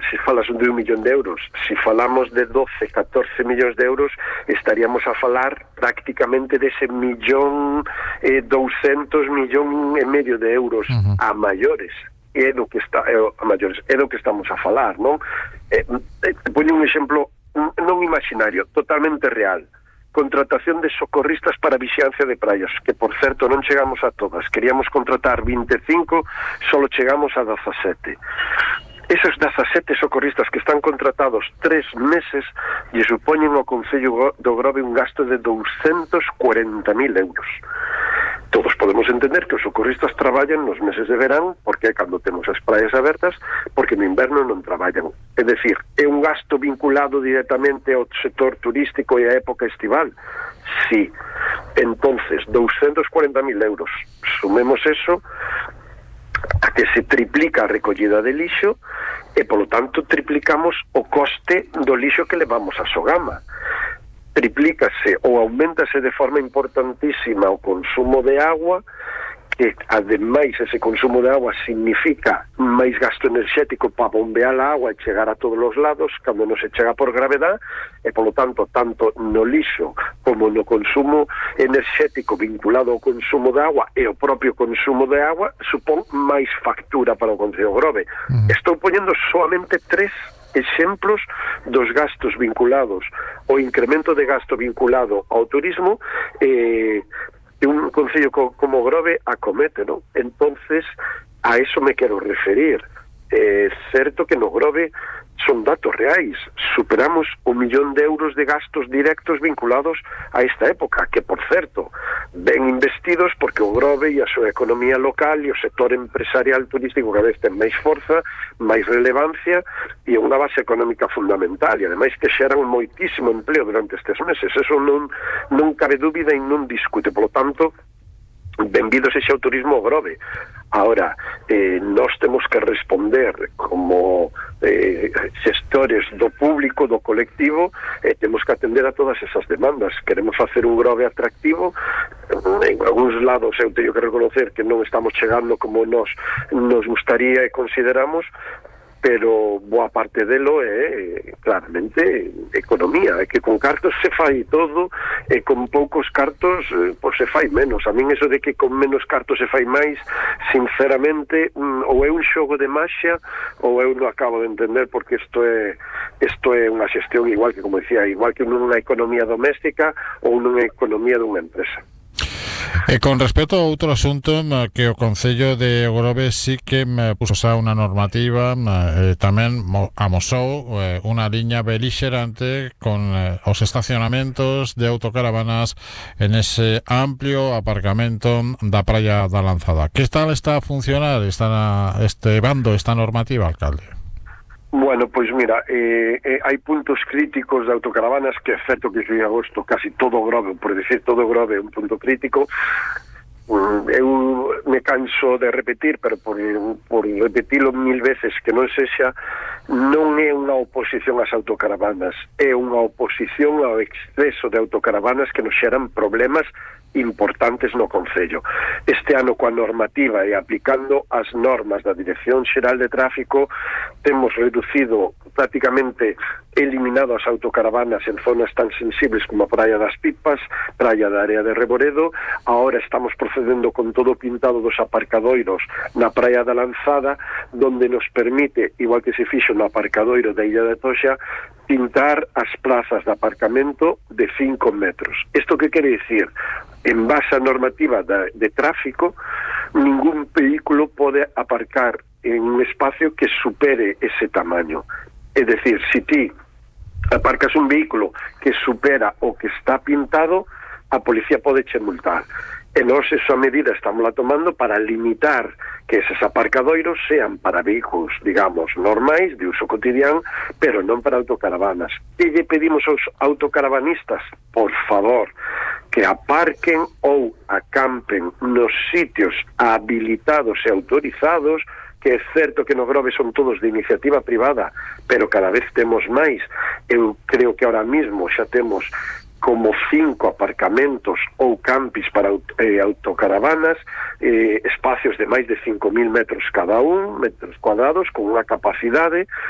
se falas de 1 millón de euros, se falamos de 12, 14 millóns de euros, estaríamos a falar prácticamente dese 1.200.000, 1,5 millón de euros a maiores. É do que estamos a falar, non? Poño un exemplo non imaginario, totalmente real. Contratación de socorristas para vixiancia de praias, que por certo non chegamos a todas. Queríamos contratar 25, solo chegamos a 17. Esos 17 socorristas que están contratados 3 meses lle supoñen ao Concello do Grove un gasto de 240.000 euros. Todos podemos entender que os socorristas traballan nos meses de verán, porque é cando temos as praias abertas, porque no inverno non traballan. É dicir, é un gasto vinculado directamente ao sector turístico e á época estival. Sí. Entonces, 240.000 euros. Sumemos eso a que se triplica a recollida de lixo e, polo tanto, triplicamos o coste do lixo que levamos a Sogama. Triplícase ou aumentase de forma importantísima o consumo de agua, que ademais ese consumo de agua significa máis gasto enerxético para bombear a agua e chegar a todos os lados cando non se chega por gravedad, e polo tanto, tanto no lixo como no consumo enerxético vinculado ao consumo de agua e o propio consumo de agua supón máis factura para o Concello Grove. Estou poñendo solamente 3 exemplos dos gastos vinculados ao incremento de gasto vinculado ao turismo que un concello como Grove acomete, non? Entonces, a eso me quero referir. É certo que no Grove son datos reais. Superamos 1 millón de euros de gastos directos vinculados a esta época, que, por certo, ben investidos porque o Grove e a súa economía local e o sector empresarial turístico cada vez ten máis forza, máis relevancia e unha base económica fundamental, e ademais que xeran moitísimo empleo durante estes meses. Eso non cabe dúbida e non discute. Por lo tanto, benvido sexa o turismo ao Grove. Ahora, nós temos que responder como xestores do público, do colectivo, temos que atender a todas esas demandas. Queremos facer un Grove atractivo. En algúns lados eu teño que reconocer que non estamos chegando como nos gustaría e consideramos, pero boa parte delo é claramente economía, é que con cartos se fai todo e con poucos cartos pois se fai menos. A min eso de que con menos cartos se fai máis, sinceramente, ou é un xogo de maxia ou eu non acabo de entender, porque isto é unha xestión igual que, como decía, igual que nunha economía doméstica ou nunha economía dunha empresa. Con respecto a outro asunto, que o Concello de Grove sí que puso xa unha normativa, tamén amosou unha liña belixerante con os estacionamentos de autocaravanas en ese amplio aparcamento da Praia da Lanzada. Que tal está a funcionar este bando, esta normativa, alcalde? Bueno, pois mira, hai puntos críticos de autocaravanas que é certo que en agosto casi todo Grove, por decir todo Grove é un punto crítico. Eu me canso de repetir, pero por repetilo 1000 veces que non sexa, non é unha oposición ás autocaravanas, é unha oposición ao exceso de autocaravanas que nos xeran problemas importantes no Concello. Este ano, coa normativa e aplicando as normas da Dirección Xeral de Tráfico, temos reducido, prácticamente eliminado as autocaravanas en zonas tan sensibles como a Praia das Pipas, Praia da Área de Reboredo. Ahora estamos procedendo con todo o pintado dos aparcadoiros na Praia da Lanzada, donde nos permite, igual que se fixo no aparcadoiro da Illa de Toxa, pintar as plazas de aparcamento de 5 metros. Isto que quere dicir? En base á normativa de tráfico, ningún vehículo pode aparcar en un espacio que supere ese tamaño. É dicir, se ti aparcas un vehículo que supera o que está pintado, a policía pode che multar. E nós esa medida estamos tomando para limitar que eses aparcadoiros sean para vehículos, digamos, normais, de uso cotidiano, pero non para autocaravanas. E lle pedimos aos autocaravanistas, por favor, que aparquen ou acampen nos sitios habilitados e autorizados, que é certo que no Grove son todos de iniciativa privada, pero cada vez temos máis. Eu creo que ahora mismo xa temos como 5 aparcamentos ou campis para autocaravanas, espacios de máis de 5.000 metros cada un, metros cuadrados, con unha capacidade